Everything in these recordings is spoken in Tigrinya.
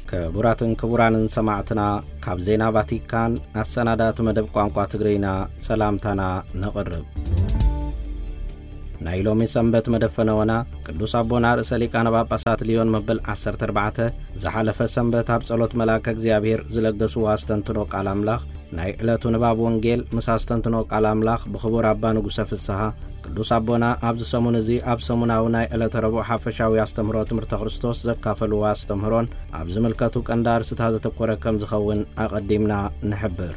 ክቡራትን ክቡራንን ሰማዕትና፣ ካብ ዜና ቫቲካን ኣሰናዳእቲ መደብ ቋንቋ ትግርኛ ሰላምታና ነቕርብ። ናይ ሎሚ ሰንበት መደብ ፈነወና ቅዱስ ኣቦና ርእሰ ሊቃነ ጳጳሳት ልዮን መበል ዓሰርተ ኣርባዕተ ዝሓለፈ ሰንበት ኣብ ጸሎት መልኣከ እግዚኣብሔር ዝለገስዎ ኣስተንትኖ ቃል ኣምላኽ፣ ናይ ዕለቱ ንባብ ወንጌል ምስ ኣስተንትኖ ቃል ኣምላኽ ብኽቡር ኣባ ንጉሰ ፍስሃ፣ ቅዱስ ኣቦና ኣብዚ ሰሙን እዚ ኣብ ሰሙናዊ ናይ ዕለተ ረቡዕ ሓፈሻዊ ኣስተምህሮ ትምህርተ ክርስቶስ ዘካፈልዎ ኣስተምህሮን ኣብ ዝምልከቱ ቀንዲ ኣርእስታት ዘተኮረ ከም ዝኸውን ኣቐዲምና ንሕብር።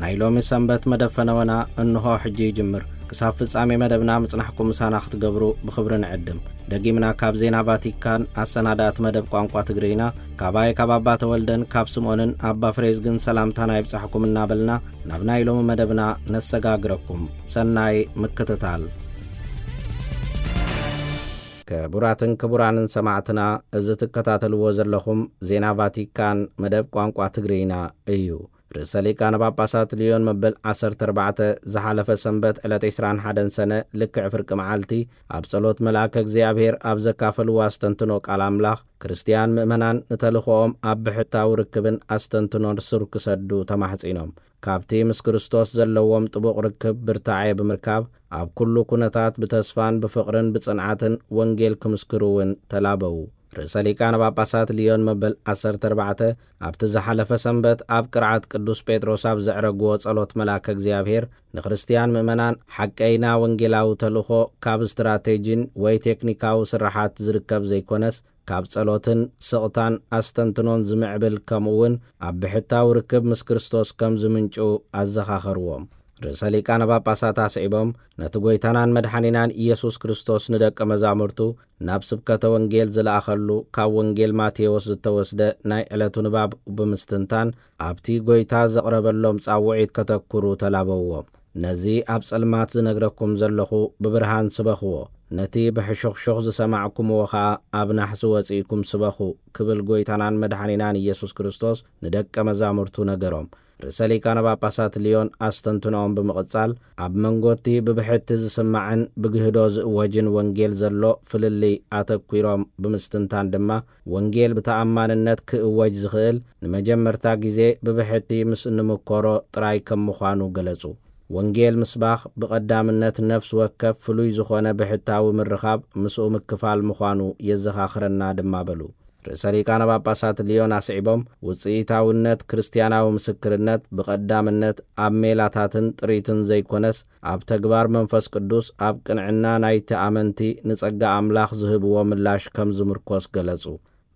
ናይ ሎሚ ሰንበት መደብ ፈነወና እንሆ ሕጂ ይጅምር። ክሳብ ፍጻሜ መደብና ምጽናሕኩም ምሳና ክትገብሩ ብኽብሪ ንዕድም። ደጊምና ካብ ዜና ቫቲካን ኣሰናዳእቲ መደብ ቋንቋ ትግርኛ፣ ካባይ ካብ ኣባ ተወልደን ካብ ስምኦንን ኣባ ፍሬዝግን ሰላምታና ይብጻሕኩም እናበልና፣ ናብ ናይ ሎሚ መደብና ነሰጋግረኩም። ሰናይ ምክትታል። ክቡራትን ክቡራንን ሰማዕትና፣ እዚ ትከታተልዎ ዘለኹም ዜና ቫቲካን መደብ ቋንቋ ትግርኛ እዩ። ርእሰ ሊቃነ ጳጳሳት ልዮን መበል ዓሰርተ ኣርባዕተ ዝሓለፈ ሰንበት ዕለት ዕስራን ሓደን ሰነ፣ ልክዕ ፍርቂ መዓልቲ፣ ኣብ ጸሎት መልኣከ እግዚኣብሔር ኣብ ዘካፈልዎ ኣስተንትኖ ቃል ኣምላኽ፣ ክርስትያን ምእመናን ንተልእኾኦም ኣብ ብሕታዊ ርክብን ኣስተንትኖን ሱር ክሰዱ ተማሕጺኖም። ካብቲ ምስ ክርስቶስ ዘለዎም ጥቡቕ ርክብ ብርታዐ ብምርካብ፣ ኣብ ኩሉ ኩነታት ብተስፋን ብፍቕርን ብጽንዓትን ወንጌል ክምስክሩ እውን ተላበዉ። ርእሰ ሊቃነ ጳጳሳት ልዮን መበል ዓሰርተ ኣርባዕተ ኣብቲ ዝሓለፈ ሰንበት ኣብ ቅርዓት ቅዱስ ጴጥሮስ ኣብ ዘዕረግዎ ጸሎት መልኣከ እግዚኣብሔር፣ ንክርስትያን ምእመናን ሓቀይና ወንጌላዊ ተልእኾ ካብ ስትራቴጂን ወይ ቴክኒካዊ ስራሓት ዝርከብ ዘይኮነስ፣ ካብ ጸሎትን ስቕታን ኣስተንትኖን ዝምዕብል፣ ከምኡውን ኣብ ብሕታዊ ርክብ ምስ ክርስቶስ ከም ዝምንጩ ኣዘኻኸርዎም። ርእሰ ሊቃነ ጳጳሳት ኣስዒቦም፣ ነቲ ጐይታናን መድሓኒናን ኢየሱስ ክርስቶስ ንደቀ መዛሙርቱ ናብ ስብከተ ወንጌል ዝለኣኸሉ፣ ካብ ወንጌል ማቴዎስ ዝተወስደ ናይ ዕለቱ ንባብ ብምስትንታን፣ ኣብቲ ጐይታ ዘቕረበሎም ጻውዒት ከተኩሩ ተላበውዎም። ነዚ ኣብ ጸልማት ዝነግረኩም ዘለኹ ብብርሃን ስበኽዎ፣ ነቲ ብሕሹኽሹኽ ዝሰማዕኩምዎ ኸኣ ኣብ ናሕሲ ወጺእኩም ስበኹ፣ ክብል ጐይታናን መድሓኒናን ኢየሱስ ክርስቶስ ንደቀ መዛሙርቱ ነገሮም። ርእሰ ሊቃነ ጳጳሳት ልዮን ኣስተንትኖኦም ብምቕጻል፣ ኣብ መንጎ እቲ ብብሕቲ ዝስማዕን ብግህዶ ዝእወጅን ወንጌል ዘሎ ፍልልይ ኣተኲሮም ብምስትንታን ድማ፣ ወንጌል ብተኣማንነት ክእወጅ ዝኽእል ንመጀመርታ ግዜ ብብሕቲ ምስ እንምኮሮ ጥራይ ከም ምዃኑ ገለጹ። ወንጌል ምስባኽ ብቐዳምነት ነፍሲ ወከፍ ፍሉይ ዝኾነ ብሕታዊ ምርኻብ ምስኡ ምክፋል ምዃኑ የዘኻኽረና ድማ በሉ። ርእሰ ሊቃነ ጳጳሳት ልዮን ኣስዒቦም፣ ውጽኢታውነት ክርስትያናዊ ምስክርነት ብቐዳምነት ኣብ ሜላታትን ጥሪትን ዘይኮነስ፣ ኣብ ተግባር መንፈስ ቅዱስ፣ ኣብ ቅንዕና ናይቲ ኣመንቲ ንጸጋ ኣምላኽ ዝህብዎ ምላሽ ከም ዝምርኮስ ገለጹ።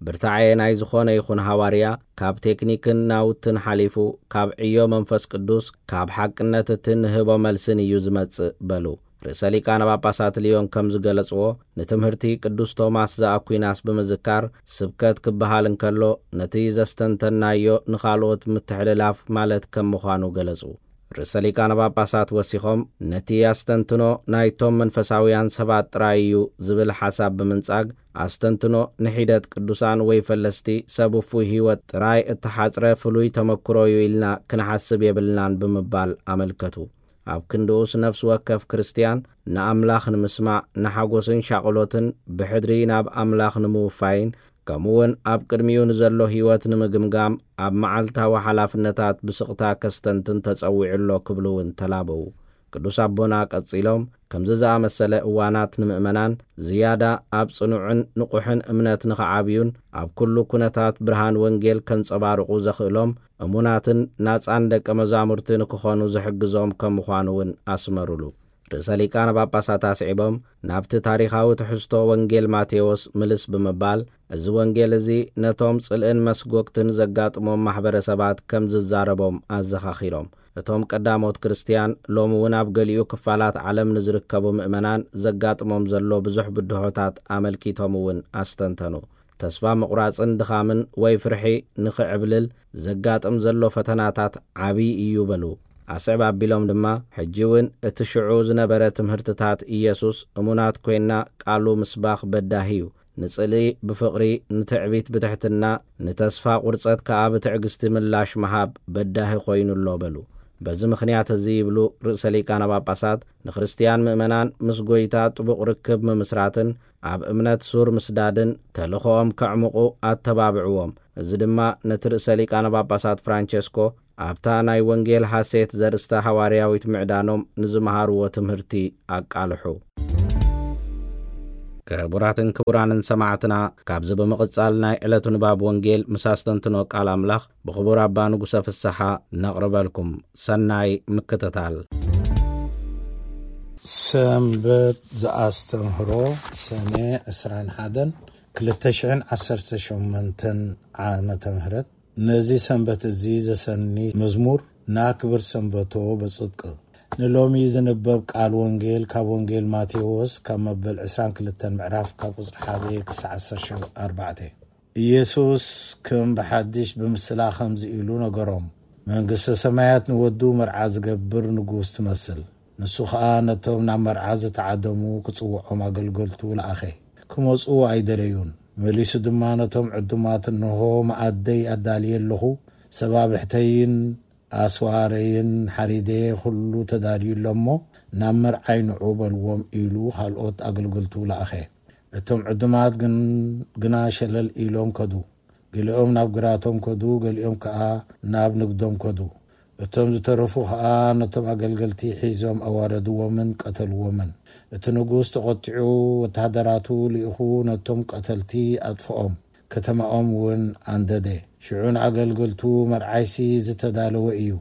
ብርታዐ ናይ ዝኾነ ይኹን ሃዋርያ፣ ካብ ቴክኒክን ናውትን ሓሊፉ፣ ካብ ዕዮ መንፈስ ቅዱስ፣ ካብ ሓቅነት እቲ ንህቦ መልስን እዩ ዝመጽእ በሉ። ርእሰ ሊቃነ ጳጳሳት ልዮን ከም ዝገለጽዎ፣ ንትምህርቲ ቅዱስ ቶማስ ዘኣኩናስ ብምዝካር፣ ስብከት ክበሃል እንከሎ፣ ነቲ ዘስተንተናዮ ንኻልኦት ምትሕልላፍ ማለት ከም ምዃኑ ገለጹ። ርእሰ ሊቃነ ጳጳሳት ወሲኾም፣ ነቲ ኣስተንትኖ ናይቶም መንፈሳውያን ሰባት ጥራይ እዩ ዝብል ሓሳብ ብምንጻግ፣ ኣስተንትኖ ንሒደት ቅዱሳን ወይ ፈለስቲ ሰብ ውፉይ ህይወት ጥራይ እተሓጽረ ፍሉይ ተመክሮ እዩ ኢልና ክንሓስብ የብልናን ብምባል ኣመልከቱ። ኣብ ክንድኡስ ነፍሲ ወከፍ ክርስትያን ንኣምላኽ ንምስማዕ፣ ንሓጎስን ሻቕሎትን ብሕድሪ ናብ ኣምላኽ ንምውፋይን፣ ከምኡውን ኣብ ቅድሚኡ ንዘሎ ህይወት ንምግምጋም ኣብ መዓልታዊ ሓላፍነታት ብስቕታ ከስተንትን ተጸዊዑ ኣሎ ክብሉ እውን ተላበዉ። ቅዱስ ኣቦና ቀጺሎም፣ ከምዚ ዝኣመሰለ እዋናት ንምእመናን ዝያዳ ኣብ ጽኑዕን ንቑሕን እምነት ንኽዓብዩን ኣብ ኩሉ ኩነታት ብርሃን ወንጌል ከንጸባርቑ ዘኽእሎም እሙናትን ናጻን ደቀ መዛሙርቲ ንክኾኑ ዝሕግዞም ከም ምዃኑ እውን ኣስመሩሉ። ርእሰ ሊቃነ ጳጳሳት ኣስዒቦም፣ ናብቲ ታሪኻዊ ትሕዝቶ ወንጌል ማቴዎስ ምልስ ብምባል፣ እዚ ወንጌል እዚ ነቶም ጽልእን መስጎግትን ዘጋጥሞም ማሕበረሰባት ከም ዝዛረቦም ኣዘኻኺሮም። እቶም ቀዳሞት ክርስትያን ሎሚ እውን ኣብ ገሊኡ ክፋላት ዓለም ንዝርከቡ ምእመናን ዘጋጥሞም ዘሎ ብዙሕ ብድሆታት ኣመልኪቶም እውን ኣስተንተኑ። ተስፋ ምቑራጽን ድኻምን ወይ ፍርሒ ንኽዕብልል ዘጋጥም ዘሎ ፈተናታት ዓብዪ እዩ በሉ። ኣስዕብ ኣቢሎም ድማ፣ ሕጂ እውን እቲ ሽዑ ዝነበረ ትምህርትታት ኢየሱስ እሙናት ኮይንና ቃሉ ምስባኽ በዳሂ እዩ። ንጽልኢ ብፍቕሪ፣ ንትዕቢት ብትሕትና፣ ንተስፋ ቁርጸት ከኣ ብትዕግስቲ ምላሽ ምሃብ በዳሂ ኮይኑ ኣሎ በሉ። በዚ ምኽንያት እዚ ይብሉ ርእሰ ሊቃነ ጳጳሳት፣ ንክርስትያን ምእመናን ምስ ጐይታ ጥቡቕ ርክብ ምምስራትን ኣብ እምነት ሱር ምስዳድን ተልእኾኦም ከዕምቑ ኣተባብዕዎም። እዚ ድማ ነቲ ርእሰ ሊቃነ ጳጳሳት ፍራንቸስኮ ኣብታ ናይ ወንጌል ሐሴት ዘርእስታ ሃዋርያዊት ምዕዳኖም ንዝመሃርዎ ትምህርቲ ኣቃልሑ። ክቡራትን ክቡራንን ሰማዕትና፣ ካብዚ ብምቕጻል ናይ ዕለቱ ንባብ ወንጌል ምስ ኣስተንትኖ ቃል ኣምላኽ ብኽቡር ኣባ ንጉሰ ፍስሓ ነቕርበልኩም። ሰናይ ምክትታል። ሰንበት ዘኣስተምህሮ፣ ሰነ ዕስራን ሓደን ክልተ ሽሕን ዓሰርተ ሸሞንተን ዓመተ ምህረት። ነዚ ሰንበት እዚ ዘሰኒ መዝሙር፣ ናክብር ሰንበቶ በጽድቅ። ንሎሚ ዝንበብ ቃል ወንጌል ካብ ወንጌል ማቴዎስ ካብ መበል ዕስራን ክልተን ምዕራፍ ካብ ቁጽሪ ሓደ ክሳዕ ዓሰርተ ኣርባዕተ። ኢየሱስ ከም ብሓድሽ ብምስላ ከምዚ ኢሉ ነገሮም፣ መንግስተ ሰማያት ንወዱ መርዓ ዝገብር ንጉስ ትመስል። ንሱ ኸኣ ነቶም ናብ መርዓ ዝተዓደሙ ክጽውዖም ኣገልገልቱ ለኣኸ። ክመጹ ኣይደለዩን። መሊሱ ድማ ነቶም ዕዱማት፣ "እንሆ መኣደይ ኣዳልየ ኣለኹ፣ ሰባብሕተይን ኣስዋረይን ሓሪደ፣ ኩሉ ተዳልዩ ኣሎ እሞ ናብ መርዓይ ንዑ በልዎም" ኢሉ ካልኦት ኣገልገልቱ ለኣኸ። እቶም ዕዱማት ግን፣ ግና ሸለል ኢሎም ከዱ። ገሊኦም ናብ ግራቶም ከዱ፣ ገሊኦም ከኣ ናብ ንግዶም ከዱ። እቶም ዝተረፉ ኸኣ ነቶም ኣገልገልቲ ሒዞም ኣዋረድዎምን ቀተልዎምን። እቲ ንጉስ ተቖጢዑ ወተሃደራቱ ልኢኹ ነቶም ቀተልቲ ኣጥፍኦም፣ ከተማኦም እውን ኣንደደ። ሽዑ ንኣገልገልቱ፣ "መርዓይሲ ዝተዳለወ እዩ፣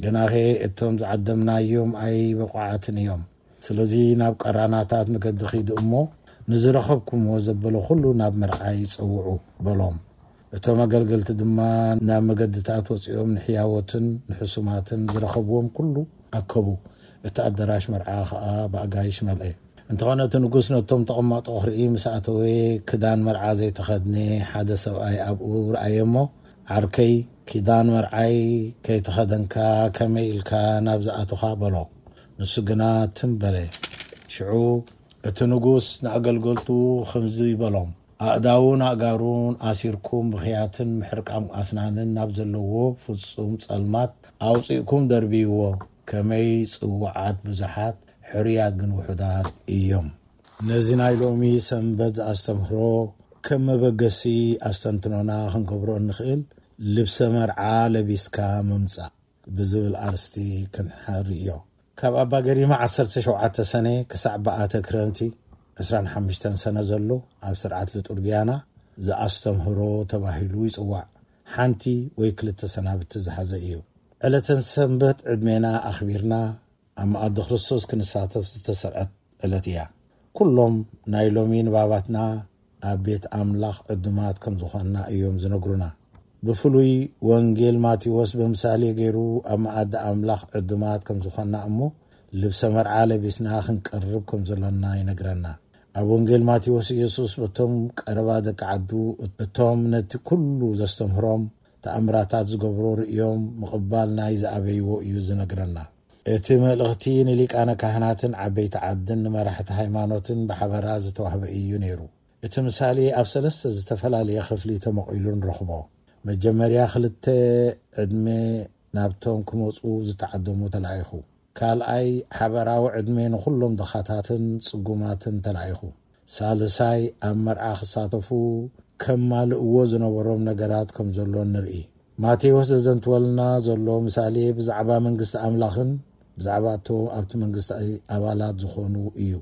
ግናኸ እቶም ዝዓደምናዮም ኣይበቑዓትን እዮም። ስለዚ ናብ ቀራናታት መገዲ ኺዱ እሞ ንዝረኸብኩምዎ ዘበለ ኹሉ ናብ መርዓይ ጸውዑ" በሎም። እቶም ኣገልገልቲ ድማ ናብ መገድታት ወጺኦም ንሕያዎትን ንሕሱማትን ዝረኸብዎም ኩሉ ኣከቡ። እቲ ኣደራሽ መርዓ ኸኣ ብኣጋይሽ መልአ። እንተኾነ እቲ ንጉስ ነቶም ተቐማጦ ክርኢ ምስ ኣተወ፣ ክዳን መርዓ ዘይተኸድነ ሓደ ሰብኣይ ኣብኡ ረኣየ እሞ፣ "ዓርከይ፣ ኪዳን መርዓይ ከይተኸደንካ ከመይ ኢልካ ናብዚ ኣቶኻ?" በሎ። ንሱ ግና ትም በለ። ሽዑ እቲ ንጉስ ንኣገልገልቱ ከምዚ በሎም፣ "ኣእዳውን ኣእጋሩን ኣሲርኩም ብኽያትን ምሕርቃም ኣስናንን ናብ ዘለዎ ፍጹም ጸልማት ኣውጺእኩም ደርብይዎ። ከመይ ጽዉዓት ብዙሓት፣ ሕሩያት ግን ውሑዳት እዮም።" ነዚ ናይ ሎሚ ሰንበት ኣስተምህሮ ከም መበገሲ ኣስተንትኖና ክንገብሮ እንኽእል፣ "ልብሰ መርዓ ለቢስካ ምምጻእ" ብዝብል ኣርስቲ ክንሓርዮ። ካብ ኣባ ገሪማ ዓሰርተ ሸውዓተ ሰነ ክሳዕ በኣተ ክረምቲ ዕስራን ሓሙሽተን ሰነ ዘሎ ኣብ ስርዓት ልጡርግያና ዘኣስተምህሮ ተባሂሉ ይጽዋዕ። ሓንቲ ወይ ክልተ ሰናብቲ ዝሓዘ እዩ። ዕለተን ሰንበት ዕድሜና ኣኽቢርና ኣብ መኣዲ ክርስቶስ ክንሳተፍ ዝተሰርዐት ዕለት እያ። ኩሎም ናይ ሎሚ ንባባትና ኣብ ቤት ኣምላኽ ዕዱማት ከም ዝኾንና እዮም ዝነግሩና። ብፍሉይ ወንጌል ማቴዎስ ብምሳሌ ገይሩ ኣብ መኣዲ ኣምላኽ ዕዱማት ከም ዝኾንና እሞ ልብሰ መርዓ ለቢስና ክንቀርብ ከም ዘሎና ይነግረና። ኣብ ወንጌል ማቴዎስ ኢየሱስ በቶም ቀረባ ደቂ ዓዱ እቶም ነቲ ኩሉ ዘስተምህሮም ተኣምራታት ዝገብሮ ርእዮም ምቕባል ናይ ዝኣበይዎ እዩ ዝነግረና። እቲ መልእኽቲ ንሊቃነ ካህናትን ዓበይቲ ዓድን ንመራሕቲ ሃይማኖትን ብሓበራ ዝተዋህበ እዩ ነይሩ። እቲ ምሳሌ ኣብ ሰለስተ ዝተፈላለየ ክፍሊ ተመቒሉ ንረኽቦ። መጀመርያ ክልተ ዕድመ ናብቶም ክመጹ ዝተዓደሙ ተላኢኹ። ካልኣይ ሓበራዊ ዕድመ ንኹሎም ድኻታትን ጽጉማትን ተላኢኹ። ሳልሳይ ኣብ መርዓ ክሳተፉ ከማልእዎ ዝነበሮም ነገራት ከም ዘሎ ንርኢ። ማቴዎስ ዘዘንትወልና ዘሎ ምሳሌ ብዛዕባ መንግስቲ ኣምላኽን ብዛዕባ እቶም ኣብቲ መንግስቲ ኣባላት ዝኾኑ እዩ።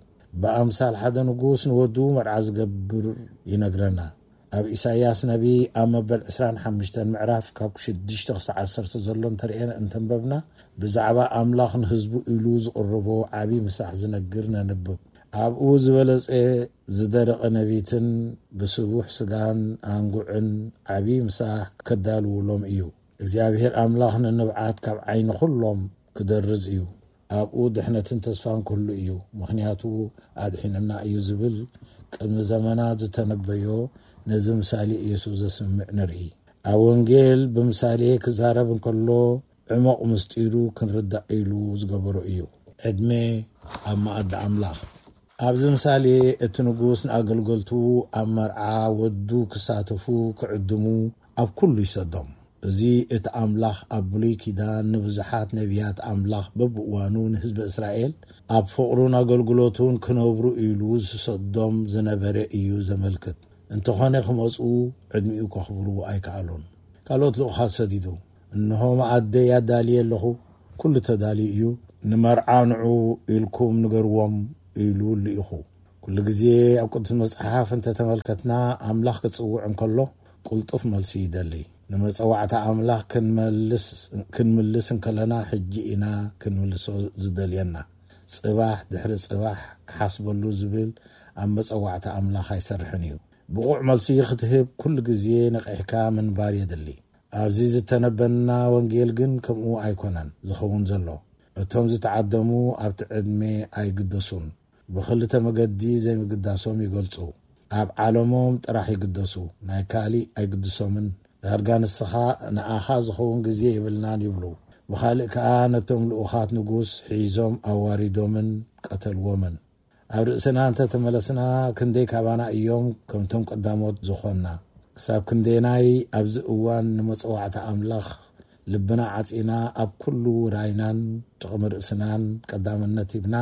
ብኣምሳል ሓደ ንጉስ ንወዱ መርዓ ዝገብር ይነግረና። ኣብ ኢሳይያስ ነቢ ኣብ መበል ዕስራን ሓሙሽተን ምዕራፍ ካብ ሽዱሽተ ክሳዕ ዓሰርተ ዘሎ እንተርእየን እንተንበብና፣ ብዛዕባ ኣምላኽ ንህዝቡ ኢሉ ዝቕርቦ ዓቢ ምሳሕ ዝነግር ነንብብ። ኣብኡ ዝበለጸ ዝደረቐ ነቢትን ብስቡሕ ስጋን ኣንጉዕን ዓቢ ምሳሕ ከዳልውሎም እዩ። እግዚኣብሔር ኣምላኽ ንንብዓት ካብ ዓይኒ ኩሎም ክደርዝ እዩ። ኣብኡ ድሕነትን ተስፋን ክህሉ እዩ፣ ምኽንያቱ ኣድሒኑና እዩ ዝብል ቅድሚ ዘመናት ዝተነበዮ ነዚ ምሳሌ ኢየሱስ ዘስምዕ ንርኢ። ኣብ ወንጌል ብምሳሌ ክዛረብ እንከሎ ዕሙቕ ምስጢሩ ክንርዳእ ኢሉ ዝገበሮ እዩ። ዕድመ ኣብ መኣዲ ኣምላኽ። ኣብዚ ምሳሌ እቲ ንጉስ ንኣገልገልቱ ኣብ መርዓ ወዱ ክሳተፉ ክዕድሙ ኣብ ኩሉ ይሰዶም። እዚ እቲ ኣምላኽ ኣብ ብሉይ ኪዳን ንብዙሓት ነቢያት ኣምላኽ በብእዋኑ ንህዝቢ እስራኤል ኣብ ፍቕሩን ኣገልግሎቱን ክነብሩ ኢሉ ዝሰዶም ዝነበረ እዩ ዘመልክት። እንተኾነ ክመጽኡ ዕድሚኡ ከኽብሩ ኣይከኣሉን። ካልኦት ልኡኻት ሰዲዱ፣ "እንሆ መኣደይ ኣዳልየ ኣለኹ፣ ኩሉ ተዳልዩ እዩ፣ ንመርዓ ንዑ ኢልኩም ንገርዎም" ኢሉ ልኢኹ። ኩሉ ግዜ ኣብ ቅዱስ መጽሓፍ እንተተመልከትና፣ ኣምላኽ ክጽውዕ እንከሎ ቅልጡፍ መልሲ ይደሊ። ንመጸዋዕታ ኣምላኽ ክንመልስ፣ ክንምልስ እንከለና፣ ሕጂ ኢና ክንምልሶ ዝደልየና። ጽባሕ ድሕሪ ጽባሕ ክሓስበሉ ዝብል ኣብ መጸዋዕታ ኣምላኽ ኣይሰርሕን እዩ። ብቑዕ መልሲ ክትህብ ኩሉ ግዜ ነቒሕካ ምንባር የድሊ። ኣብዚ ዝተነበና ወንጌል ግን ከምኡ ኣይኮነን ዝኸውን ዘሎ። እቶም ዝተዓደሙ ኣብቲ ዕድመ ኣይግደሱን። ብኽልተ መገዲ ዘይምግዳሶም ይገልጹ። ኣብ ዓለሞም ጥራሕ ይግደሱ፣ ናይ ካሊእ ኣይግድሶምን። ዳርጋ ንስኻ፣ ንኣኻ ዝኸውን ግዜ የብልናን ይብሉ። ብኻልእ ከኣ ነቶም ልኡኻት ንጉስ ሒዞም ኣዋሪዶምን ቀተልዎምን። ኣብ ርእስና እንተ ተመለስና፣ ክንደይ ካባና እዮም ከምቶም ቀዳሞት ዝኾንና? ክሳብ ክንደናይ ኣብዚ እዋን ንመጸዋዕታ ኣምላኽ ልብና ዓጺና፣ ኣብ ኩሉ ውራይናን ጥቕሚ ርእስናን ቀዳምነት ሂብና፣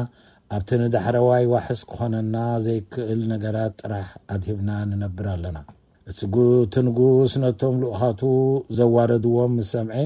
ኣብቲ ንዳሕረዋይ ዋሕስ ክኾነና ዘይክእል ነገራት ጥራሕ ኣድሂብና ንነብር ኣለና? እቲ ጉ-፣ እቲ ንጉስ ነቶም ልኡኻቱ ዘዋረድዎም ምስ ሰምዐ፣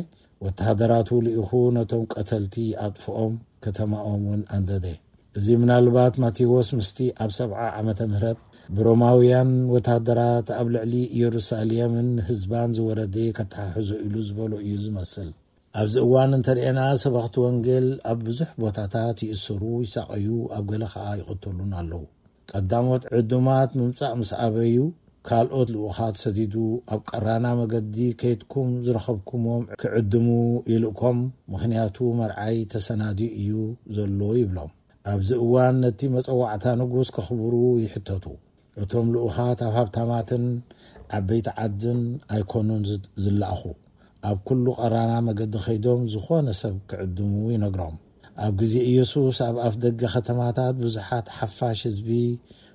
ወተሃደራቱ ልኢኹ ነቶም ቀተልቲ ኣጥፍኦም፣ ከተማኦም እውን ኣንደደ። እዚ ምናልባት ማቴዎስ ምስቲ ኣብ ሰብዓ ዓመተ ምህረት ብሮማውያን ወተሃደራት ኣብ ልዕሊ ኢየሩሳሌምን ህዝባን ዝወረደ ከተሓሕዞ ኢሉ ዝበሎ እዩ ዝመስል። ኣብዚ እዋን እንተርኤና፣ ሰበኽቲ ወንጌል ኣብ ብዙሕ ቦታታት ይእሰሩ፣ ይሳቐዩ፣ ኣብ ገለ ኸኣ ይቕተሉን ኣለዉ። ቀዳሞት ዕዱማት ምምጻእ ምስ ኣበዩ፣ ካልኦት ልኡኻት ሰዲዱ፣ "ኣብ ቀራና መገዲ ከይድኩም ዝረኸብኩሞም ክዕድሙ ይልእኮም፣ ምኽንያቱ መርዓይ ተሰናድዩ እዩ ዘሎ" ይብሎም። ኣብዚ እዋን ነቲ መጸዋዕታ ንጉስ ከኽብሩ ይሕተቱ። እቶም ልኡኻት ኣብ ሃብታማትን ዓበይቲ ዓድን ኣይኮኑን ዝ-፣ ዝለኣኹ። ኣብ ኩሉ ቀራና መገዲ ከይዶም ዝኾነ ሰብ ክዕድሙ ይነግሮም። ኣብ ግዜ ኢየሱስ ኣብ ኣፍ ደገ ከተማታት ብዙሓት ሓፋሽ ህዝቢ፣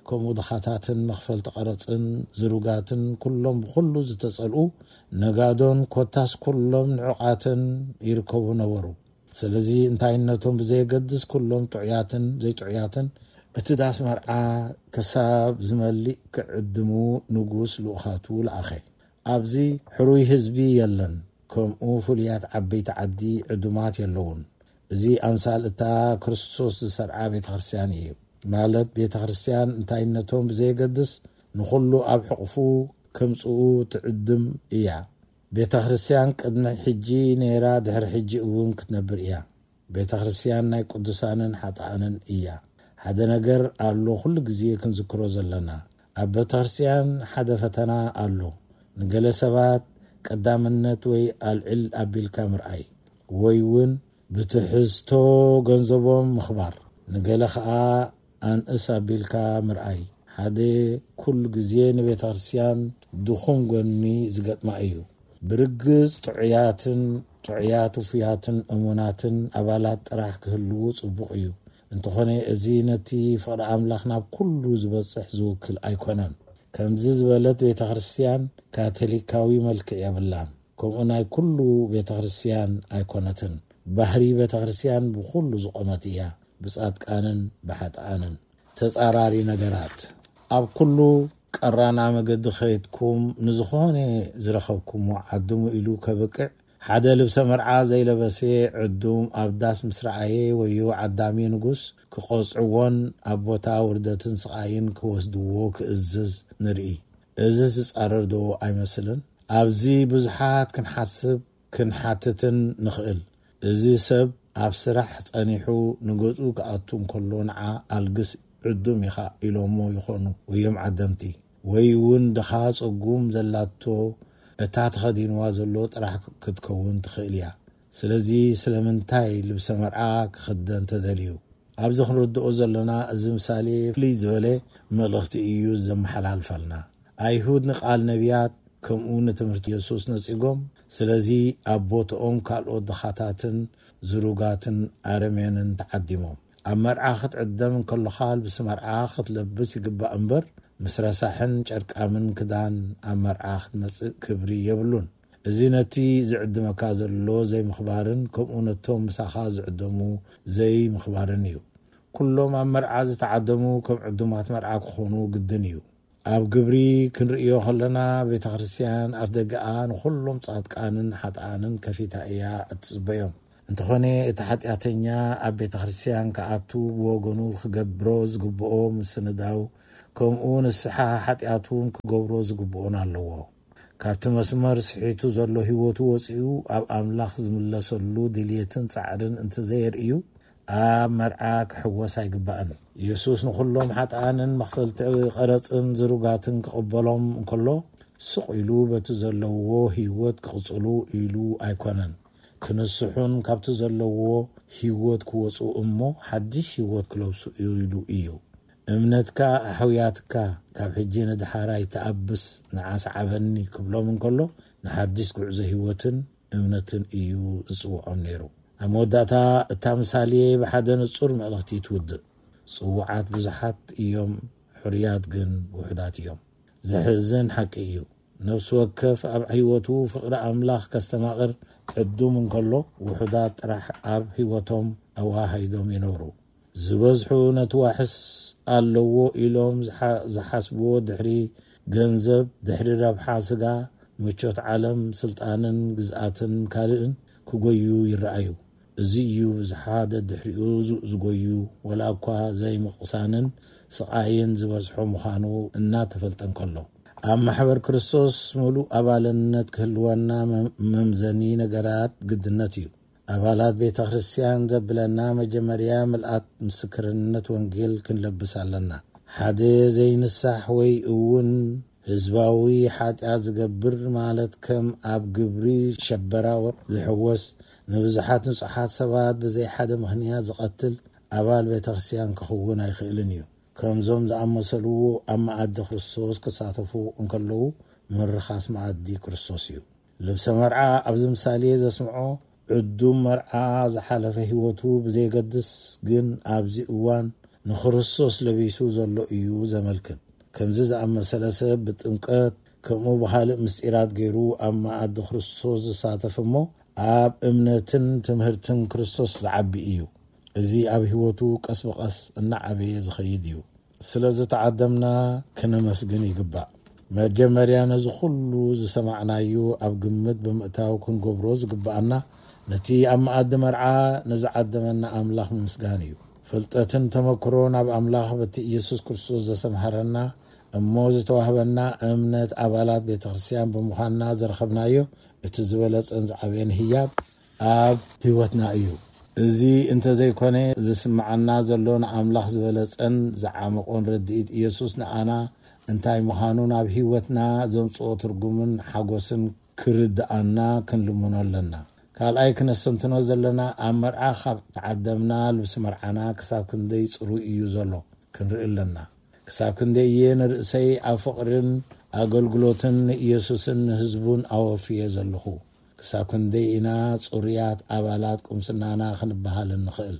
ከምኡ ድኻታትን መኽፈልቲ ቀረጽን ዝሩጋትን፣ ኩሎም ብኹሉ ዝተጸልኡ፣ ነጋዶን ኮታስ ኩሎም ንዑቓትን ይርከቡ ነበሩ። ስለዚ እንታይነቶም ብዘየገድስ፣ ኩሎም ጥዑያትን ዘይጥዑያትን፣ እቲ ዳስ መርዓ ክሳብ ዝመልእ ክዕድሙ ንጉስ ልኡኻቱ ለኣኸ። ኣብዚ ሕሩይ ህዝቢ የለን፣ ከምኡ ፍሉያት ዓበይቲ ዓዲ ዕዱማት የለውን። እዚ ኣምሳል እታ ክርስቶስ ዝሰርዓ ቤተ ክርስቲያን እዩ። ማለት ቤተ ክርስቲያን እንታይነቶም ብዘየገድስ ንኹሉ ኣብ ሕቕፉ ከምጽኡ ትዕድም እያ። ቤተ ክርስቲያን ቅድሚ ሕጂ ነይራ፣ ድሕሪ ሕጂ እውን ክትነብር እያ። ቤተ ክርስቲያን ናይ ቅዱሳንን ሓጥኣንን እያ። ሓደ ነገር ኣሎ ኩሉ ግዜ ክንዝክሮ ዘለና። ኣብ ቤተ ክርስቲያን ሓደ ፈተና ኣሎ። ንገለ ሰባት ቀዳምነት ወይ ኣልዕል ኣቢልካ ምርኣይ፣ ወይ እውን ብትሕዝቶ ገንዘቦም ምኽባር። ንገለ ኸኣ ኣንእስ ኣቢልካ ምርኣይ። ሓደ ኩሉ ግዜ ንቤተ ክርስቲያን ድኹም ጎኒ ዝገጥማ እዩ። ብርግጽ ጥዑያትን፣ ጥዑያት ውፉያትን እሙናትን ኣባላት ጥራሕ ክህልዉ ጽቡቕ እዩ። እንተኾነ እዚ ነቲ ፍቕሪ ኣምላኽ ናብ ኩሉ ዝበጽሕ ዝውክል ኣይኮነን። ከምዚ ዝበለት ቤተ ክርስቲያን ካቶሊካዊ መልክዕ የብላን። ከምኡ ናይ ኩሉ ቤተ ክርስቲያን ኣይኮነትን። ባህሪ ቤተ ክርስቲያን ብኹሉ ዝቖመት እያ፣ ብጻድቃንን ብሓጥኣንን። ተጻራሪ ነገራት። ኣብ ኩሉ ቀራና መገዲ ከይድኩም ንዝኾነ ዝረኸብኩሞ ዓድሙ ኢሉ ከብቅዕ፣ ሓደ ልብሰ መርዓ ዘይለበሰ ዕዱም ኣብ ዳስ ምስ ረኣየ፣ ወዮ ዓዳሚ ንጉስ ክቐጽዕዎን ኣብ ቦታ ውርደትን ስቓይን ክወስድዎ ክእዝዝ ንርኢ። እዚ ዝጻረር ዶ ኣይመስልን? ኣብዚ ብዙሓት ክንሓስብ ክንሓትትን ንኽእል። እዚ ሰብ ኣብ ስራሕ ጸኒሑ ንገዝኡ ክኣቱ እንከሎ፣ ንዓ ኣልግስ ዕዱም ኢኻ ኢሎሞ ይኾኑ ወዮም ዓደምቲ። ወይ እውን ድኻ ጽጉም ዘላቶ እታ ተኸዲንዋ ዘሎ ጥራሕ ክትከውን ትኽእል እያ። ስለዚ ስለምንታይ ልብሰ መርዓ ክኽደን ተደልዩ? ኣብዚ ክንርድኦ ዘለና፣ እዚ ምሳሌ ፍልይ ዝበለ መልእኽቲ እዩ ዘመሓላልፈልና። ኣይሁድ ንቃል ነቢያት ከምኡ ንትምህርቲ የሱስ ነጺጎም፣ ስለዚ ኣብ ቦትኦም ካልኦት ድኻታትን ዝሩጋትን ኣረሜንን ተዓዲሞም። ኣብ መርዓ ክትዕደም እንከሎኻ ልብሲ መርዓ ክትለብስ ይግባእ እምበር፣ ምስ ረሳሕን ጨርቃምን ክዳን ኣብ መርዓ ክትመጽእ ክብሪ የብሉን። እዚ ነቲ ዝዕድመካ ዘሎ ዘይምኽባርን ከምኡ ነቶም ምሳኻ ዝዕደሙ ዘይምኽባርን እዩ። ኩሎም ኣብ መርዓ ዝተዓደሙ ከም ዕዱማት መርዓ ክኾኑ ግድን እዩ። ኣብ ግብሪ ክንርእዮ ከለና፣ ቤተ ክርስቲያን ኣፍ ደገኣ ንኹሎም ጻድቃንን ሓጥኣንን ከፊታ እያ እትጽበዮም። እንተኾነ፣ እቲ ሓጢኣተኛ ኣብ ቤተ ክርስቲያን ክኣቱ ብወገኑ ክገብሮ ዝግብኦ ምስንዳው፣ ከምኡ ንስሓ ሓጢኣቱን ክገብሮ ዝግብኦን ኣለዎ። ካብቲ መስመር ስሒቱ ዘሎ ህይወቱ ወጺኡ ኣብ ኣምላኽ ዝምለሰሉ ድልየትን ጻዕርን እንተዘየርእዩ፣ ኣብ መርዓ ክሕወስ ኣይግባእን። ኢየሱስ ንኹሎም ሓጥኣንን መኽፈልቲ ቐረጽን ዝሩጋትን ክቕበሎም እንከሎ፣ ስቕ ኢሉ በቲ ዘለዎ ህይወት ክቕጽሉ ኢሉ ኣይኮነን። ክንስሑን ካብቲ ዘለዎ ህይወት ክወጹ እሞ ሓድሽ ህይወት ክለብሱ ኢሉ እዩ። እምነትካ ኣሕውያትካ፣ ካብ ሕጂ ንድሓር ኣይትኣብስ፣ ንዓ ሰዓበኒ ክብሎም እንከሎ፣ ንሓድሽ ጉዕዞ ህይወትን እምነትን እዩ ዝጽውዖም ነይሩ። ኣብ መወዳእታ፣ እታ ምሳሌ ብሓደ ንጹር መልእኽቲ ትውድእ። ጽዉዓት ብዙሓት እዮም፣ ሕሩያት ግን ውሑዳት እዮም። ዘሕዝን ሓቂ እዩ። ነፍሲ ወከፍ ኣብ ህይወቱ ፍቕሪ ኣምላኽ ከስተማቕር ዕዱም እንከሎ፣ ውሑዳት ጥራሕ ኣብ ህይወቶም ኣወሃሂዶም ይነብሩ። ዝበዝሑ ነቲ ዋሕስ ኣለዎ ኢሎም ዝሓ-፣ ዝሓስብዎ ድሕሪ ገንዘብ፣ ድሕሪ ረብሓ ስጋ፣ ምቾት ዓለም፣ ስልጣንን ግዝኣትን ካልእን ክጎዩ ይረኣዩ። እዚ እዩ ብዝሓ ደድሕሪኡ ዝ-፣ ዝጎዩ፣ ወላ እኳ ዘይምቕሳንን ስቓይን ዝበዝሖ ምዃኑ እናተፈልጠ እንከሎ። ኣብ ማሕበር ክርስቶስ ምሉእ ኣባልነት ክህልወና መ-፣ መምዘኒ ነገራት ግድነት እዩ። ኣባላት ቤተ ክርስቲያን ዘብለና መጀመርያ ምልኣት ምስክርነት ወንጌል ክንለብስ ኣለና። ሓደ ዘይንሳሕ ወይ እውን ህዝባዊ ሓጢኣት ዝገብር፣ ማለት ከም ኣብ ግብሪ ሸበራ ዝሕወስ፣ ንብዙሓት ንጹሓት ሰባት ብዘይ ሓደ ምኽንያት ዝቐትል ኣባል ቤተ ክርስቲያን ክኸውን ኣይኽእልን እዩ። ከምዞም ዝኣመሰልዎ ኣብ መኣዲ ክርስቶስ ክሳተፉ እንከለዉ፣ ምርኻስ መኣዲ ክርስቶስ እዩ። ልብሰ መርዓ ኣብዚ ምሳሌ ዘስምዖ፣ ዕዱም መርዓ ዝሓለፈ ህይወቱ ብዘየገድስ፣ ግን ኣብዚ እዋን ንክርስቶስ ለቢሱ ዘሎ እዩ ዘመልክት። ከምዚ ዝኣመሰለ ሰብ ብጥምቀት ከምኡ ብኻልእ ምስጢራት ገይሩ ኣብ መኣዲ ክርስቶስ ዝሳተፍ እሞ፣ ኣብ እምነትን ትምህርትን ክርስቶስ ዝዓቢ እዩ። እዚ ኣብ ህይወቱ ቀስ ብቐስ እናዓበየ ዝኸይድ እዩ። ስለ ዝተዓደምና ክነመስግን ይግባእ። መጀመርያ ነዚ ኩሉ ዝሰማዕናዮ ኣብ ግምት ብምእታው ክንገብሮ ዝግብኣና፣ ነቲ ኣብ መኣዲ መርዓ ንዝዓደመና ኣምላኽ ምምስጋን እዩ። ፍልጠትን ተመክሮን ኣብ ኣምላኽ በቲ ኢየሱስ ክርስቶስ ዘሰምሃረና እሞ ዝተዋህበና እምነት ኣባላት ቤተ ክርስቲያን ብምዃንና ዝረኸብናዮ እቲ ዝበለጸን ዝዓበየን ህያብ ኣብ ህይወትና እዩ። እዚ እንተዘይኮነ፣ ዝስምዓና ዘሎ ንኣምላኽ ዝበለጸን ዝዓመቖን ርድኢት ኢየሱስ ንኣና እንታይ ምዃኑን ኣብ ህይወትና ዘምጽኦ ትርጉምን ሓጎስን ክርድኣና ክንልምኖ ኣለና። ካልኣይ ክነስተንትኖ ዘለና፣ ኣብ መርዓ ካብ ተዓደምና ልብሲ መርዓና ክሳብ ክንደይ ጽሩይ እዩ ዘሎ ክንርኢ ኣለና። ክሳብ ክንደይ እየ ንርእሰይ ኣብ ፍቕርን ኣገልግሎትን ንኢየሱስን ንህዝቡን ኣወፍየ ዘለኹ? ክሳብ ክንደይ ኢና ጽሩያት ኣባላት ቁምስናና ክንበሃል እንኽእል?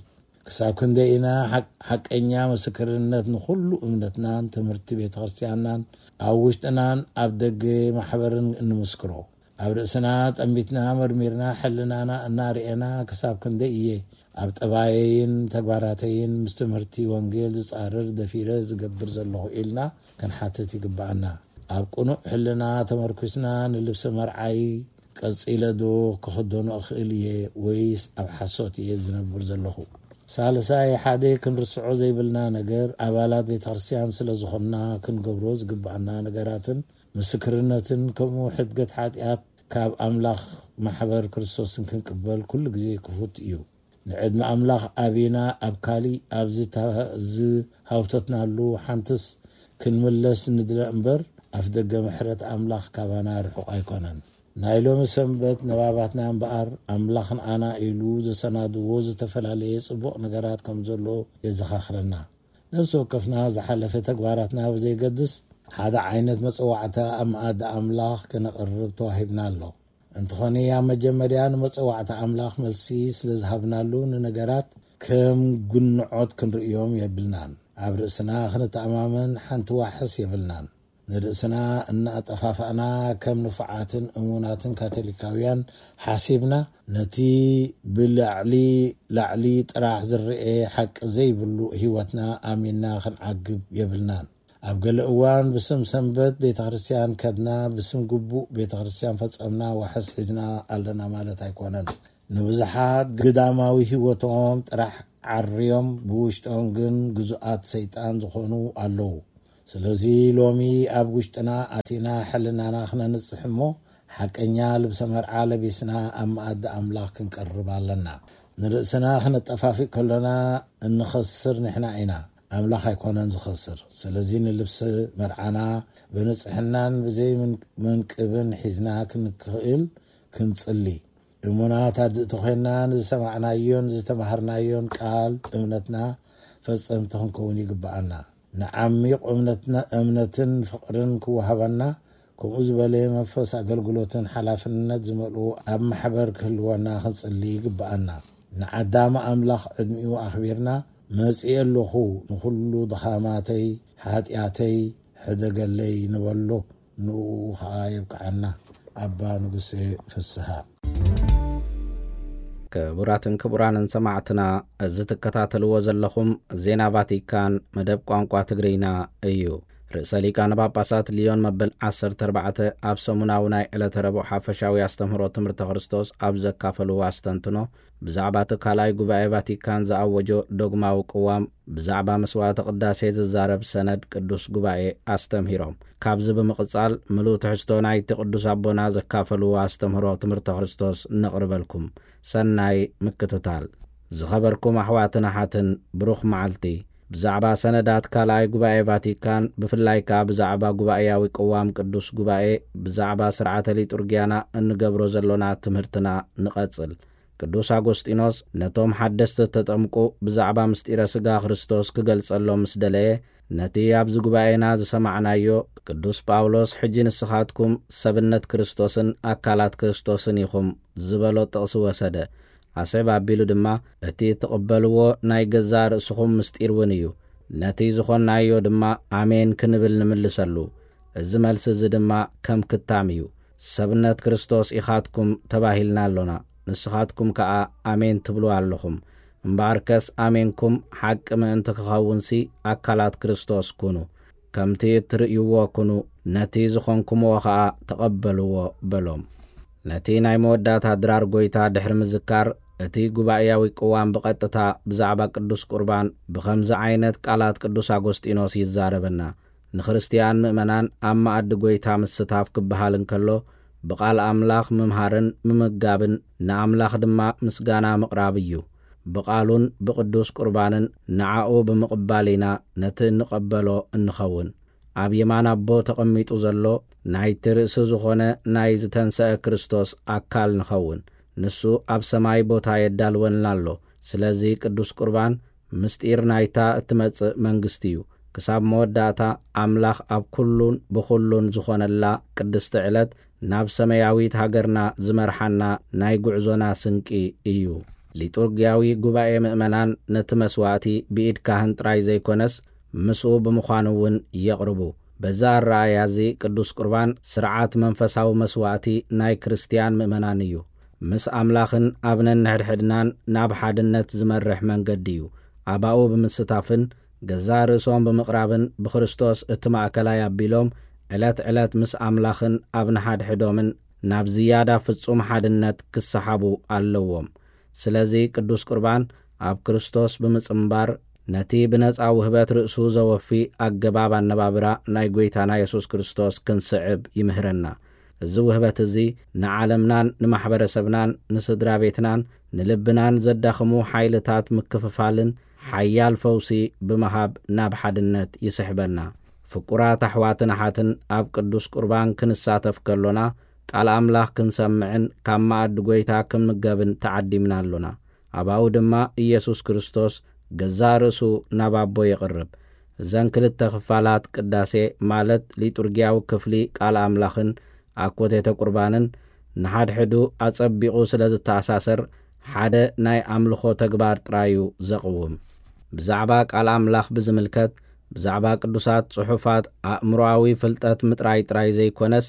ክሳብ ክንደይ ኢና ሓቅ-፣ ሓቀኛ ምስክርነት ንኹሉ እምነትናን ትምህርቲ ቤተ ክርስቲያንናን ኣብ ውሽጥናን ኣብ ደገ ማሕበርን እንምስክሮ? ኣብ ርእስና ጠሚትና መርሚርና ሕልናና እናርኤና ክሳብ ክንደይ እየ ኣብ ጠባየይን ተግባራተይን ምስ ትምህርቲ ወንጌል ዝጻረር ደፊረ ዝገብር ዘለኹ ኢልና ክንሓትት ይግብኣና። ኣብ ቅኑዕ ሕልና ተመርኲስና ንልብሲ መርዓይ ቀጺለ ዶ ክኽደኖ እኽእል እየ ወይስ ኣብ ሓሶት እየ ዝነብር ዘለኹ? ሳልሳይ፣ ሓደ ክንርስዖ ዘይብልና ነገር፣ ኣባላት ቤተ ክርስቲያን ስለ ዝኾንና ክንገብሮ ዝግብኣና ነገራትን ምስክርነትን ከምኡ ሕድገት ሓጢኣት ካብ ኣምላኽ ማሕበር ክርስቶስን ክንቅበል ኩሉ ግዜ ክፉት እዩ። ንዕድመ ኣምላኽ ኣቢና ኣብ ካሊእ ኣብ ዝታ-፣ ዝሃውተትናሉ ሓንትስ ክንምለስ ንድለ እምበር፣ ኣፍ ደገ ምሕረት ኣምላኽ ካባና ርሑቕ ኣይኮነን። ናይ ሎሚ ሰንበት ንባባትና እምበኣር፣ ኣምላኽ ንኣና ኢሉ ዘሰናድዎ ዝተፈላለየ ጽቡቕ ነገራት ከም ዘሎ የዘኻኽረና። ነፍሲ ወከፍና ዝሓለፈ ተግባራትና ብዘይገድስ፣ ሓደ ዓይነት መጸዋዕታ ኣብ መኣዲ ኣምላኽ ከነቕርብ ተዋሂብና ኣሎ። እንተኾነ፣ ኣብ መጀመርያ ንመጸዋዕታ ኣምላኽ መልሲ ስለ ዝሃብናሉ፣ ንነገራት ከም ግንዖት ክንርእዮም የብልናን። ኣብ ርእስና ክንተኣማመን ሓንቲ ዋሕስ የብልናን። ንርእስና እናኣጠፋፋእና ከም ንፉዓትን እሙናትን ካቶሊካውያን ሓሲብና፣ ነቲ ብላዕሊ ላዕሊ ጥራሕ ዝረአ ሓቂ ዘይብሉ ህይወትና ኣሚንና ክንዓግብ የብልናን። ኣብ ገለ እዋን ብስም ሰንበት ቤተ ክርስቲያን ከድና፣ ብስም ግቡእ ቤተ ክርስቲያን ፈጸምና ዋሕስ ሒዝና ኣለና ማለት ኣይኮነን። ንብዙሓት ግዳማዊ ህይወቶም ጥራሕ ዓርዮም፣ ብውሽጦም ግን ግዙኣት ሰይጣን ዝኾኑ ኣለዉ። ስለዚ ሎሚ ኣብ ውሽጥና ኣቲና ሕልናና ክነንጽሕ እሞ፣ ሓቀኛ ልብሰ መርዓ ለቢስና ኣብ መኣዲ ኣምላኽ ክንቀርብ ኣለና። ንርእስና ክነጠፋፍእ ከሎና እንኸስር ንሕና ኢና፣ ኣምላኽ ኣይኮነን ዝኸስር። ስለዚ ንልብሲ መርዓና ብንጽሕናን ብዘይ ምን-፣ መንቅብን ሒዝና ክንክእል ክንጽሊ። እሙናት ኣድእቲ ኮይንና ንዝሰማዕናዮን ዝተማሃርናዮን ቃል እምነትና ፈጸምቲ ክንከውን ይግብኣና። ንዓሚቕ እምነትና፣ እምነትን ፍቕርን ክወሃበና፣ ከምኡ ዝበለ መንፈስ ኣገልግሎትን ሓላፍነት ዝመልኡ ኣብ ማሕበር ክህልወና ክንጽሊ ይግብኣና። ንዓዳም ኣምላኽ ዕድሚኡ ኣኽቢርና፣ መጺኤ ኣለኹ፣ ንኹሉ ድኻማተይ፣ ሓጢኣተይ ሕደገለይ ንበሎ፣ ንኡ ኸዓ የብቅዓና። ኣባ ንጉሴ ፍስሃ። ክቡራትን ክቡራንን ሰማዕትና፣ እዚ ትከታተልዎ ዘለኹም ዜና ቫቲካን መደብ ቋንቋ ትግርኛ እዩ። ርእሰ ሊቃነ ጳጳሳት ሊዮን መበል ዓሰርተ ኣርባዕተ ኣብ ሰሙናዊ ናይ ዕለተ ረቡዕ ሓፈሻዊ ኣስተምህሮ ትምህርተ ክርስቶስ ኣብ ዘካፈልዎ ኣስተንትኖ፣ ብዛዕባ እቲ ካልኣይ ጉባኤ ቫቲካን ዝኣወጆ ዶግማዊ ቅዋም ብዛዕባ መስዋዕተ ቅዳሴ ዝዛረብ ሰነድ ቅዱስ ጉባኤ ኣስተምሂሮም። ካብዚ ብምቕጻል፣ ምሉእ ትሕዝቶ ናይቲ ቅዱስ ኣቦና ዘካፈልዎ ኣስተምህሮ ትምህርተ ክርስቶስ ነቕርበልኩም። ሰናይ ምክትታል። ዝኸበርኩም ኣሕዋትን ኣሓትን፣ ብሩኽ መዓልቲ። ብዛዕባ ሰነዳት ካልኣይ ጉባኤ ቫቲካን፣ ብፍላይ ከኣ ብዛዕባ ጉባኤያዊ ቅዋም ቅዱስ ጉባኤ፣ ብዛዕባ ስርዓተ ሊጡርጊያና እንገብሮ ዘሎና ትምህርትና ንቐጽል። ቅዱስ ኣጎስጢኖስ ነቶም ሓደስቲ እተጠምቁ ብዛዕባ ምስጢረ ሥጋ ክርስቶስ ክገልጸሎም ምስ ደለየ፣ ነቲ ኣብዚ ጉባኤና ዝሰማዕናዮ፣ ቅዱስ ጳውሎስ፣ "ሕጂ ንስኻትኩም ሰብነት ክርስቶስን ኣካላት ክርስቶስን ኢኹም" ዝበሎ ጥቕሲ ወሰደ። ኣስዕብ ኣቢሉ ድማ፣ "እቲ እትቕበልዎ ናይ ገዛእ ርእስኹም ምስጢር እውን እዩ። ነቲ ዝኾንናዮ ድማ ኣሜን ክንብል ንምልሰሉ። እዚ መልሲ እዚ ድማ ከም ክታም እዩ። ሰብነት ክርስቶስ ኢኻትኩም ተባሂልና ኣሎና። ንስኻትኩም ከኣ ኣሜን ትብሉ ኣለኹም። እምበኣርከስ ኣሜንኩም ሓቂ ምእንቲ ክኸውንሲ ኣካላት ክርስቶስ ኩኑ። ከምቲ እትርእይዎ ኩኑ፣ ነቲ ዝኾንኩምዎ ኸኣ ተቐበልዎ" በሎም። ነቲ ናይ መወዳእታ ድራር ጐይታ ድሕሪ ምዝካር፣ እቲ ጉባኤያዊ ቅዋም ብቐጥታ ብዛዕባ ቅዱስ ቁርባን ብኸምዚ ዓይነት ቃላት ቅዱስ ኣጎስጢኖስ ይዛረበና። ንክርስትያን ምእመናን ኣብ መኣዲ ጐይታ ምስታፍ ክበሃል እንከሎ፣ ብቓል ኣምላኽ ምምሃርን ምምጋብን ንኣምላኽ ድማ ምስጋና ምቕራብ እዩ። ብቓሉን ብቅዱስ ቁርባንን ንዓኡ ብምቕባል ኢና ነቲ እንቐበሎ እንኸውን። ኣብ የማን ኣቦ ተቐሚጡ ዘሎ ናይቲ ርእሲ ዝኾነ ናይ ዝተንሰአ ክርስቶስ ኣካል ንኸውን። ንሱ ኣብ ሰማይ ቦታ የዳልወልና ኣሎ። ስለዚ ቅዱስ ቁርባን ምስጢር ናይታ እትመጽእ መንግስቲ እዩ። ክሳብ መወዳእታ ኣምላኽ ኣብ ኩሉን ብኹሉን ዝኾነላ ቅድስቲ ዕለት ናብ ሰማያዊት ሃገርና ዝመርሓና ናይ ጉዕዞና ስንቂ እዩ። ሊጡርጊያዊ ጉባኤ ምእመናን ነቲ መስዋእቲ ብኢድ ካህን ጥራይ ዘይኮነስ፣ ምስኡ ብምዃን እውን የቕርቡ። በዛ ኣረኣእያ እዚ ቅዱስ ቁርባን ስርዓት መንፈሳዊ መስዋእቲ ናይ ክርስትያን ምእመናን እዩ። ምስ ኣምላኽን ኣብ ነንሕድሕድናን ናብ ሓድነት ዝመርሕ መንገዲ እዩ። ኣባኡ ብምስታፍን ገዛእ ርእሶም ብምቕራብን ብክርስቶስ እቲ ማእከላይ ኣቢሎም ዕለት ዕለት ምስ ኣምላኽን ኣብ ንሓድሕዶምን ናብ ዝያዳ ፍጹም ሓድነት ክሰሓቡ ኣለዎም። ስለዚ ቅዱስ ቁርባን ኣብ ክርስቶስ ብምጽንባር ነቲ ብነጻ ውህበት ርእሱ ዘወፊ ኣገባብ ኣነባብራ ናይ ጐይታና የሱስ ክርስቶስ ክንስዕብ ይምህረና። እዚ ውህበት እዚ ንዓለምናን ንማሕበረሰብናን ንስድራ ቤትናን ንልብናን ዘዳኽሙ ሓይልታት ምክፍፋልን ሓያል ፈውሲ ብምሃብ ናብ ሓድነት ይስሕበና። ፍቁራት ኣሕዋትን ኣሓትን ኣብ ቅዱስ ቁርባን ክንሳተፍ ከሎና ቃል ኣምላኽ ክንሰምዕን ካብ መኣዲ ጐይታ ክንምገብን ተዓዲምና ኣሎና። ኣባኡ ድማ ኢየሱስ ክርስቶስ ገዛእ ርእሱ ናብ ኣቦ የቕርብ። እዘን ክልተ ክፋላት ቅዳሴ ማለት ሊጡርጊያዊ ክፍሊ ቃል ኣምላኽን ኣኮቴተ ቁርባንን ንሓድሕዱ ኣጸቢቑ ስለ ዝተኣሳሰር ሓደ ናይ ኣምልኾ ተግባር ጥራይ እዩ ዘቕውም። ብዛዕባ ቃል ኣምላኽ ብዝምልከት ብዛዕባ ቅዱሳት ጽሑፋት ኣእምሮኣዊ ፍልጠት ምጥራይ ጥራይ ዘይኮነስ፣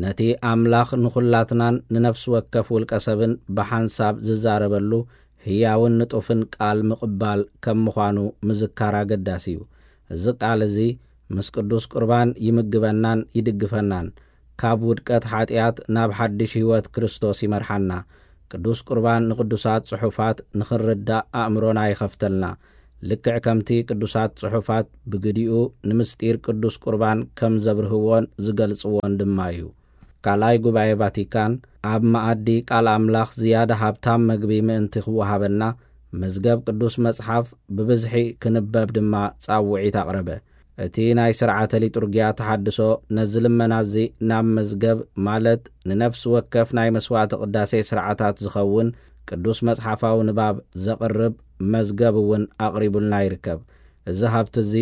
ነቲ ኣምላኽ ንኹላትናን ንነፍሲ ወከፍ ውልቀ ሰብን ብሓንሳብ ዝዛረበሉ ህያውን ንጡፍን ቃል ምቕባል ከም ምዃኑ ምዝካር ኣገዳሲ እዩ። እዚ ቃል እዚ ምስ ቅዱስ ቁርባን ይምግበናን ይድግፈናን፣ ካብ ውድቀት ሓጢኣት ናብ ሓድሽ ህይወት ክርስቶስ ይመርሓና። ቅዱስ ቁርባን ንቅዱሳት ጽሑፋት ንኽንርዳእ ኣእምሮና ይኸፍተልና። ልክዕ ከምቲ ቅዱሳት ጽሑፋት ብግዲኡ ንምስጢር ቅዱስ ቁርባን ከም ዘብርህዎን ዝገልጽዎን ድማ እዩ። ካልኣይ ጉባኤ ቫቲካን ኣብ መኣዲ ቃል ኣምላኽ ዝያዳ ሃብታም መግቢ ምእንቲ ክወሃበና፣ መዝገብ ቅዱስ መጽሓፍ ብብዝሒ ክንበብ ድማ ጻውዒት ኣቕረበ። እቲ ናይ ስርዓተ ሊጡርጊያ ተሓድሶ ነዚ ልመና እዚ ናብ መዝገብ፣ ማለት ንነፍሲ ወከፍ ናይ መስዋዕቲ ቅዳሴ ስርዓታት ዝኸውን ቅዱስ መጽሓፋዊ ንባብ ዘቕርብ መዝገብ እውን ኣቕሪቡልና ይርከብ። እዚ ሃብቲ እዚ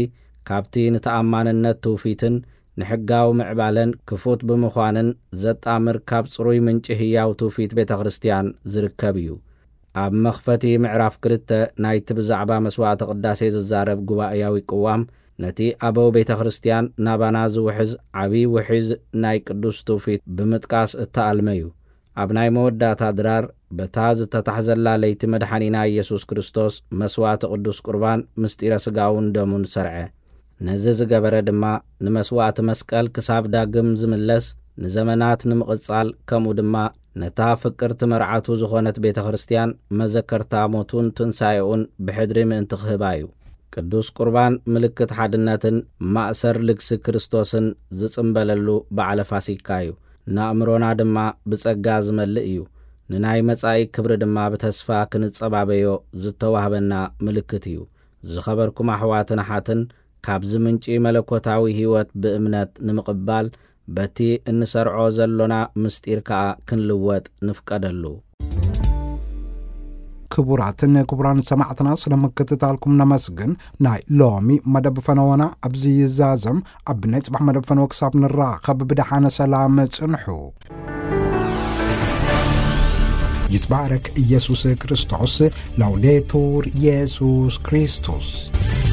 ካብቲ ንተኣማንነት ትውፊትን ንሕጋዊ ምዕባለን ክፉት ብምዃንን ዘጣምር ካብ ጽሩይ ምንጪ ህያው ትውፊት ቤተ ክርስቲያን ዝርከብ እዩ። ኣብ መኽፈቲ ምዕራፍ ክልተ ናይቲ ብዛዕባ መስዋዕተ ቅዳሴ ዝዛረብ ጉባኤያዊ ቅዋም፣ ነቲ ኣበው ቤተ ክርስቲያን ናባና ዝውሕዝ ዓብዪ ውሒዝ ናይ ቅዱስ ትውፊት ብምጥቃስ እተኣልመ እዩ። ኣብ ናይ መወዳእታ ድራር፣ በታ ዝተታሕዘላ ለይቲ መድሓኒና ኢየሱስ ክርስቶስ መስዋዕቲ ቅዱስ ቁርባን ምስጢረ ስጋውን ደሙን ሰርዐ። ነዚ ዝገበረ ድማ ንመስዋዕቲ መስቀል ክሳብ ዳግም ዝምለስ ንዘመናት ንምቕጻል፣ ከምኡ ድማ ነታ ፍቅርቲ መርዓቱ ዝኾነት ቤተ ክርስቲያን መዘከርታ ሞቱን ትንሳኤኡን ብሕድሪ ምእንቲ ክህባ እዩ። ቅዱስ ቁርባን ምልክት ሓድነትን ማእሰር ልግሲ ክርስቶስን ዝጽምበለሉ በዓለ ፋሲካ እዩ። ንኣእምሮና ድማ ብጸጋ ዝመልእ እዩ። ንናይ መጻኢ ክብሪ ድማ ብተስፋ ክንጸባበዮ ዝተዋህበና ምልክት እዩ። ዝኸበርኩም ኣሕዋትን ኣሓትን፣ ካብዚ ምንጪ መለኮታዊ ህይወት ብእምነት ንምቕባል፣ በቲ እንሰርዖ ዘሎና ምስጢር ከኣ ክንልወጥ ንፍቀደሉ። ክቡራትን ክቡራን ሰማዕትና፣ ስለ ምክትታልኩም ነመስግን። ናይ ሎሚ መደብ ፈነወና ኣብዚ ይዛዘም። ኣብ ናይ ጽባሕ መደብ ፈነወ ክሳብ ንራኸብ፣ ብደሓነ ሰላም ጽንሑ። ይትባረክ ኢየሱስ ክርስቶስ። ላውዴቱር ኢየሱስ ክርስቶስ።